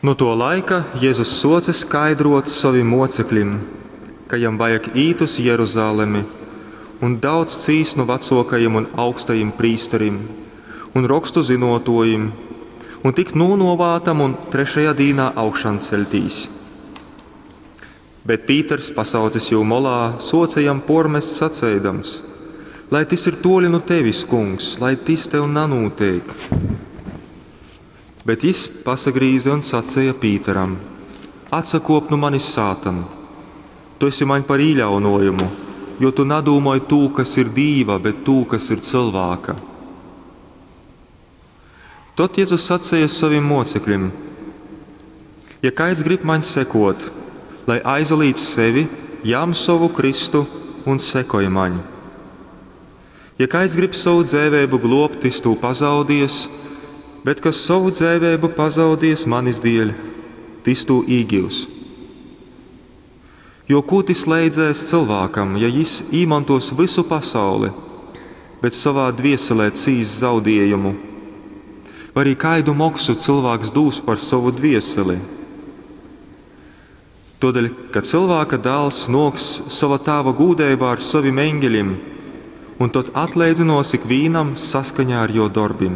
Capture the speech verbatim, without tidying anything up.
Nu tuo laika Jezus suoce skaidruot sovim muocekļim, ka jam vajag īt uz Jeruzalemi un daudz cīst nu vacuokajim un augstajim prīsterim, un Rokstu zynuotuojim, un tikt nūnuovātam un trešajā dīnā augšanceļtīs. Bet Pīters, pasaucis jū molā, suoce jam puormest saceidams: Lai tys ir tuoli nu tevis, Kungs, lai tys tev nanūteik. Bet jis pasagrīze un saceja Pīteram: Atsakuop nu manis, sātan! Tu esi maņ par īļaunuojumu, jo tu nadūmoj tū, kas ir Dīva, bet tū, kas ir cylvāka. Tod Jezus saceja sovim muocekļim: Ja kaids grib maņ sekot, lai aizalīdz sevi, jam sovu krystu un sekoj maņ. Ja kaids grib sovu dzeiveibu gluobt, tys tū pazaudies, bet kas sovu dzeiveibu pazaudies manis dieļ, tys tū īgius. Jo kū tys leidzēs cylvākam, ja jis īmontuos vysu pasauli, bet sovā dvieselē cīss zaudiejumu? Vai arī kaidu moksu cylvāks dūs par sovu dvieseli? Tuodeļ, ka Cylvāka dāls nuoks sova Tāva gūdeibā ar sovim eņgeļim, un tod atleidzynuos ikvīnam saskaņā ar juo dorbim.